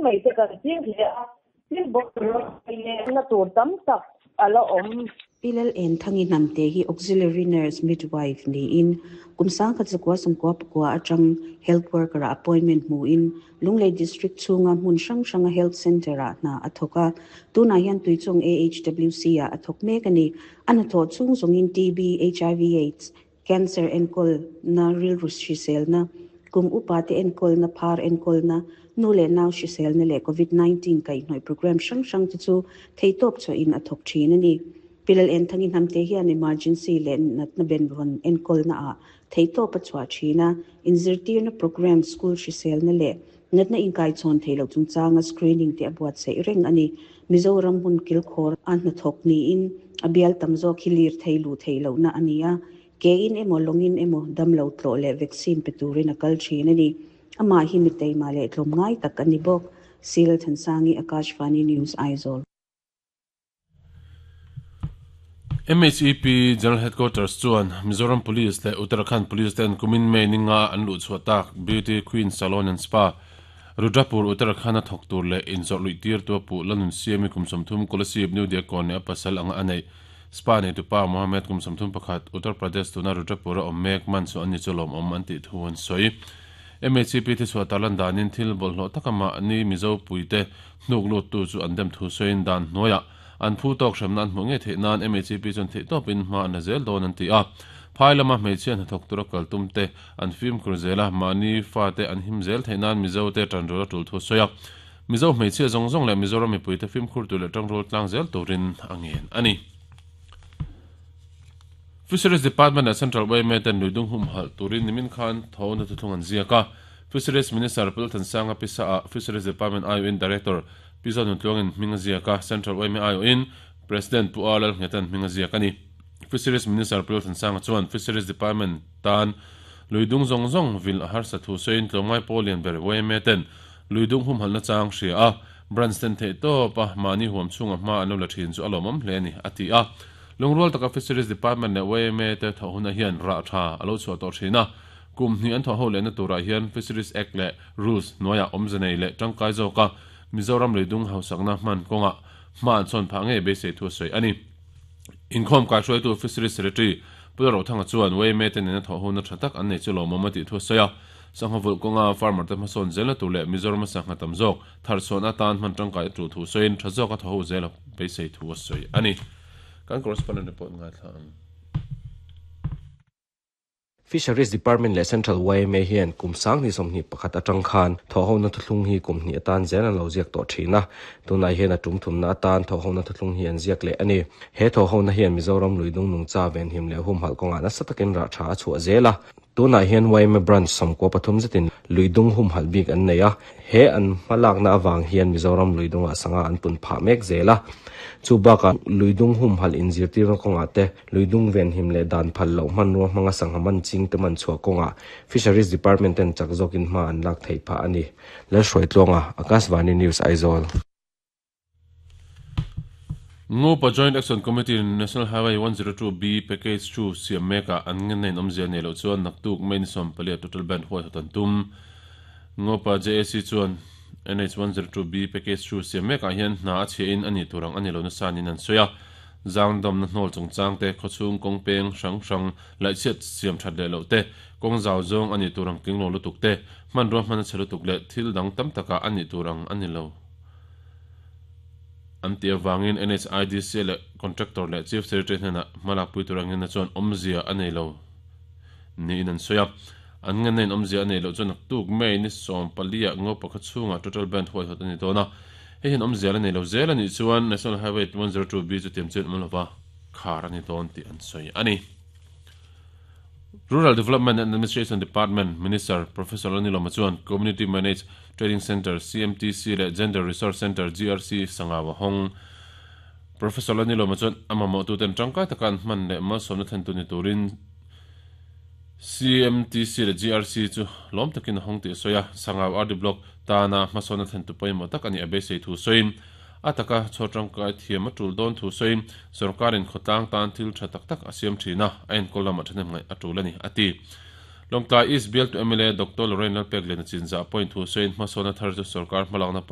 mai te kan ching hle a, thil bawlhhlawh na tur tam tak a la awm. Pi Lalenthangi Hnamte hi Auxiliary Nurse Midwife niin kum 1999 atang Health Worker-ah appointment hmuin Lunglei District chhunga hmun hrang hranga Health Centre-ah hna a thawk a, tunah hian Tuichawng AHWC-ah a thawk mek a ni. A hnathawh chhung zawngin TB, HIV Aids, Cancer enkawlna, rilru hriselna, kum upate enkawlna, phar enkawlna, nu leh nau hriselna leh Covid 19 kaihhnawih programme hrang hrang te chu theihtawp chhuahin a thawk thin a ni. Pi Lalenthangi Hnamte hian emergency leh natna benvawn enkawlna ah theihtawp a chhuah thin a, inzirtirna programme, school hriselna leh natna inkaichhawn theih loh chungchanga screening te a buatsaih reng a ni. Mizoram hmun kilkhawr a hnathawk niin a bial tam zawk hi lir thei luh theih lohna a ni a, kein emaw lawngin emaw damlo tlawh leh vaccine pe turin a kal thin a ni. Amah hi mi teima leh tlawmngai tak a ni bawk. Seal Thansangi, Akashvani News, Aizawl. MHEP General Headquarters chuan Mizoram Police leh Uttarakhand Police ten kumin May ni nga an luh chhuah tak Beauty Queen Salon and Spa, Rudrapur, Uttarakhand a thawk tur leh inzawrh luih tir tu a puh Lanun Siami kum 30 Kolasib, New Diakkawn leh a pasal anga a neih Spa neitupa Mohammed kum 31, Uttar Pradesh tuna Rudrapur a awm mek man chu an ni chu lawmawm an tih thu an sawi. MHEP te chhuah tarlan danin thil bawlhhlawh taka mahni Mizo puite hnuk luttu chu an dem thu sawiin dan hnuaiah an phu tawk hremna an hmuh ngei theih nan MHEP chuan theihtawpin hma an la zel dawn an ti a. Phai lama hmeichhia hnathawk tura kal tum te an fimkhur zel a, mahni fate an him zel theih nan Mizo te tanrual a tul thu a sawi a. Mizo hmeichhia zawng zawng leh Mizoram mipuite fimkhur tur leh tangrual tlang zel turin a ngen a ni. Fisheries Department leh Central yma ten luidung humhalh turin nimin khan tho na thuthlung an ziak a. Fisheries Minister Pu Lalthansanga pisa ah Fisheries Department aiawhin Director Pi Zonun Tluangin hming a ziak a, Central yma aiawhin President Pu A Lalnghetan hming a ziak a ni. Fisheries Minister Pu Lalthansanga chuan Fisheries Department tan luidung zawng zawng vil a harsa thu sawiin tlawmngai pawl lian ber yma ten luidung humhalhna chang hria a, Branch ten theih tawp a mahni huam chhunga hma an lo la thin chu a lawmawm hle a ni, a ti a. Lungrual taka Fisheries Department leh yma te thawh hunah hian rah tha a lo chhuah tawh thin a, kum hnih an thawh ho lehna turah hian Fisheries Act leh Rules hnuaiah awmze nei leh tangkai zawka Mizoram leidung hausakna hman kawngah hma an chhawn phah ngei beisei thu a sawi a ni. Inkhawm kaihruaitu Fisheries Secretary Pu Lalrothanga chuan yma te nena thawh hona tha tak an nei chu lawmawm a tih thu a sawi a, sangha vulh kawnga farmer te hmasawn zelna tur leh Mizorama sangha tam zawk thar chhuahna atan hman tangkai a tul thu sawiin tha zawka thaw ho zel a beisei thu a sawi a ni. Kan correspondent report ngaithla ang. Fisheries Department leh Central yma hian kum 2021 atang khan thawhhona thuthlung hi kum hnih atan zel an lo ziak tawh thin a, tunah hian a tum thumna atan thawhhona thuthlung hi an ziak leh a ni. He thawhhona hian Mizoram luidung nungcha venhim leh humhalh kawngah nasa takin rah tha a chhuah zel a. Tunah hian yma Branch 13 zetin luidung humhalh bik an nei a, he an hmalakna avang hian Mizoram luidungah sangha an pun phah mek zel a. Chu bakah luidung humhalh inzirtirna kawngah te, luidung venhim leh dan phal loh hmanrua hmanga sangha man ching te man chhuah kawngah Fisheries Department ten chak zawkin hma an lak theih phah a ni. Lalhruaitluanga, Akashvani News, Aizawl. Ngopa Joint Action Committee in National Highway 102B Package 2 siam mekah an ngenna in awmzia nei loh chuan naktuk May ni 14 ah total ban huaihawt an tum. Ngopa JAC chuan NH 102B Package 2 siam mekah hian hna a chhia in a nih tur ang a ni lo nasa niin an sawi a. Zangdamna hnawl chungchang te, khawchhung kawng peng hrang hrang laihchhiat siam that leh loh te, kawng zau zawng a nih tur ang tling lo lutuk te, hmanrua hman a chhe lutuk leh thil dang tam takah a nih tur ang a ni lo. An tih avangin NHIDC leh Contractor leh Chief Secretary hnenah hmalakpui tur angin chuan awmzia a nei lo niin an sawi a. An ngenna in awmzia a nei loh chuan naktuk May ni 14 ah ngo pakhat chhungah Total Band huaihawt a ni dawn a. Hei hian awmzia la nei lo zel a nih chuan National Highway 102B chu tiam chian awm lova khar a ni dawn tih an sawi a ni. Rural Development and Administration Department Minister Professor Lalnilawma chuan Community Managed Trading Centre, CMTC, leh Gender Resource Centre, GRC, sangau a hawng. Professor Lalnilawma chuan a mamawhtuten tangkai taka an hman leh malsawmna thlentu ni turin CMTC leh GRC chu lawm takin a hawng tih a sawi a, Sangau RD Block tana hmasawnna thlentu pawimawh tak a nih a beisei thu sawiin A taka chhuar tangkai thiam a tul dawn thu sawiin sorkarin khawtlang tan thil tha tak tak a siam thin a, a enkawl lamah thahnem ngaih a tul a ni, a ti. Lawngtlai East bialtu mla Doctor Lorraine Lalpekliana chinzah pawhin thu sawiin hmasawnna thar chu sorkar hmalakna pawimawh.